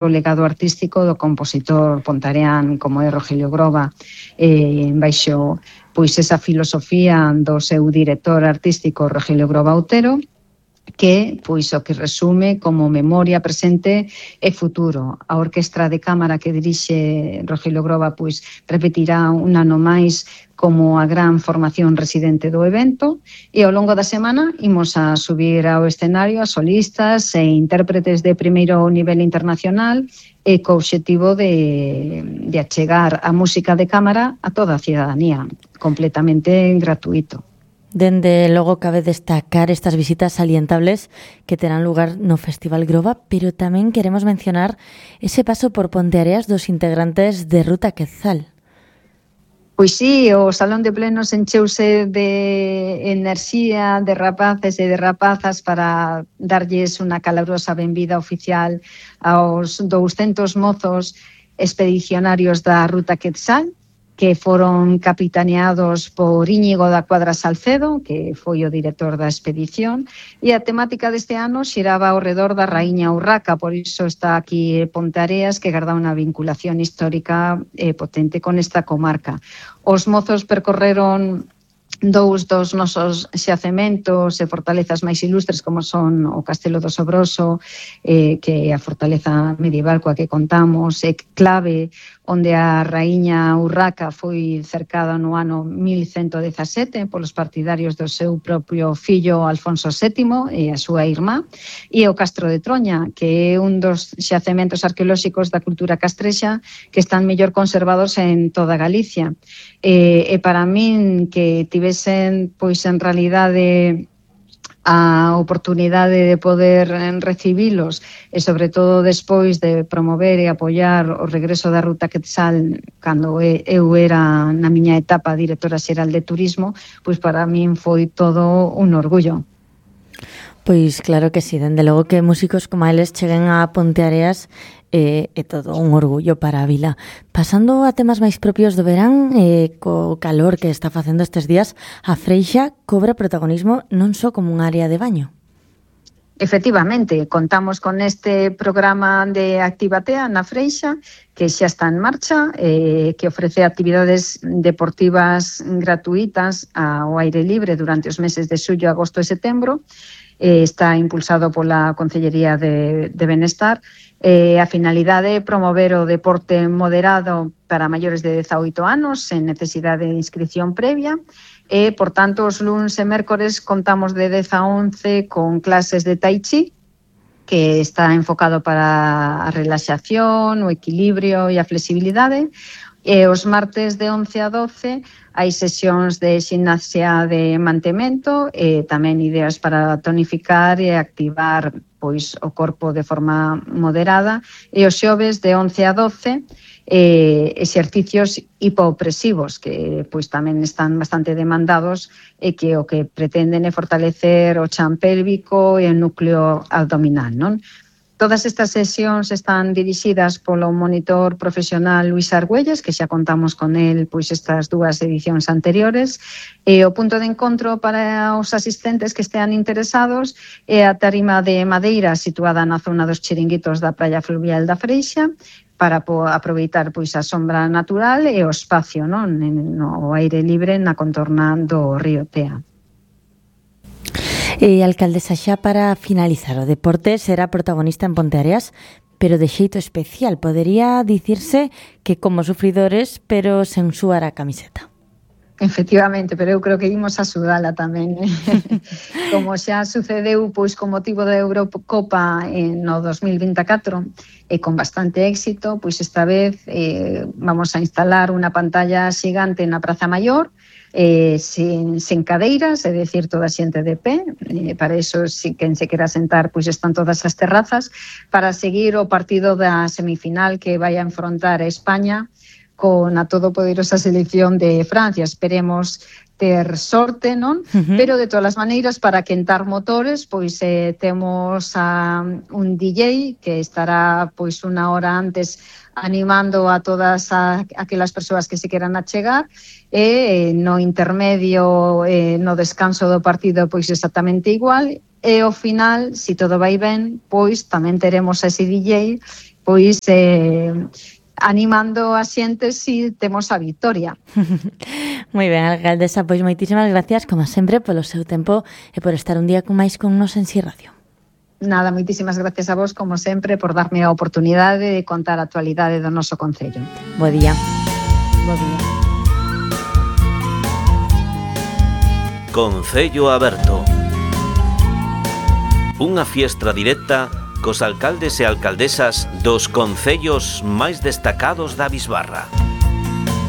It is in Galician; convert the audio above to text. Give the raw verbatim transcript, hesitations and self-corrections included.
o legado artístico do compositor pontareán como é Rogelio Groba, eh, baixo pois esa filosofía do seu director artístico Rogelio Groba Otero, que pois o que resume como memoria, presente e futuro. A orquestra de cámara que dirixe Rogelio Groba pois repetirá un ano máis como a gran formación residente do evento, e ao longo da semana imos a subir ao escenario a solistas e intérpretes de primeiro nivel internacional e co obxectivo de, de achegar a música de cámara a toda a cidadanía, completamente gratuito. Dende logo cabe destacar estas visitas salientables que terán lugar no Festival Groba, pero tamén queremos mencionar ese paso por Ponteareas dos integrantes de Ruta Quetzal. Pois sí, o Salón de Plenos encheuse de enerxía de rapaces e de rapazas para darlles unha calabrosa benvida oficial aos douscentos mozos expedicionarios da Ruta Quetzal, que foron capitaneados por Íñigo da Cuadra Salcedo, que foi o director da expedición, e a temática deste ano xiraba ao redor da Raíña Urraca, por iso está aquí Ponteareas, que garda unha vinculación histórica eh, potente con esta comarca. Os mozos percorreron dous dos nosos xacementos e fortalezas máis ilustres, como son o Castelo do Sobroso, eh, que é a fortaleza medieval coa que contamos, é clave onde a raíña Urraca foi cercada no ano mil cento dezasete polos partidarios do seu propio fillo Alfonso sétimo e a súa irmá, e o Castro de Troña, que é un dos xacementos arqueolóxicos da cultura castrexa que están mellor conservados en toda Galicia. E, e para min que tivesen, pois en realidade, a oportunidade de poder recibilos e sobre todo despois de promover e apoiar o regreso da Ruta Quetzal cando eu era na miña etapa directora xeral de turismo, pois para min foi todo un orgullo. Pois claro que sí, dende logo que músicos como eles cheguen a Ponteareas é, é todo un orgullo para a vila. Pasando a temas máis propios do verán, eh, co calor que está facendo estes días, a Freixa cobra protagonismo non só como un área de baño. Efectivamente, contamos con este programa de Activatea na Freixa, que xa está en marcha, eh, que ofrece actividades deportivas gratuitas ao aire libre durante os meses de xullo, agosto e setembro. Eh, está impulsado pola Concellería de, de Benestar. Eh, a finalidade é promover o deporte moderado para maiores de dezaoito anos, sen necesidade de inscripción previa. E, por tanto, os luns e mércores contamos de dez a once con clases de Tai Chi, que está enfocado para a relaxación, o equilibrio e a flexibilidade. E os martes de once a doce hai sesións de ximnasia de mantemento e tamén ideas para tonificar e activar pois o corpo de forma moderada. E os xoves de once a doce eh, exercicios hipopresivos que pois tamén están bastante demandados e que o que pretenden é fortalecer o chan pélvico e o núcleo abdominal, non? Todas estas sesións están dirixidas polo monitor profesional Luis Argüelles, que xa contamos con el pois estas dúas edicións anteriores, e o punto de encontro para os asistentes que estean interesados é a tarima de madeira situada na zona dos chiringuitos da Praia Fluvial da Freixa, para aproveitar pois a sombra natural e o espacio, non, no aire libre na contorna do río Tea. E alcaldesa, xa para finalizar, o deporte será protagonista en Ponteareas, pero de xeito especial. Podería dicirse que como sufridores, pero sen suar a camiseta. Efectivamente, pero eu creo que imos a sudala tamén. Como xa sucedeu pois con motivo da Eurocopa en no dos mil vinte e catro e con bastante éxito, pois esta vez eh, vamos a instalar unha pantalla xigante na Praza Maior, Eh, sin, sin cadeiras, é dicir, toda a xente de pé, eh, para iso, si quen se quera sentar, pois están todas as terrazas, para seguir o partido da semifinal que vai a enfrontar a España con a todopoderosa selección de Francia. Esperemos ter sorte, non? Uh-huh. Pero de todas as maneiras, para quentar motores, pois eh, temos a un D J que estará pois unha hora antes animando a todas a, aquelas persoas que se queran achegar, e no intermedio, eh, no descanso do partido, pois exactamente igual, e ao final, se todo vai ben, pois tamén teremos ese D J pois eh, animando a xente si temos a vitoria. Moi ben, alcaldesa, pois moitísimas gracias, como sempre, polo seu tempo e por estar un día con máis con nos en Si Radio. Nada, moitísimas gracias a vos, como sempre, por darme a oportunidade de contar a actualidade do noso concello. Bo día. Bo día. Concello Aberto. Unha fiestra directa cos alcaldes e alcaldesas dos concellos máis destacados da Bisbarra.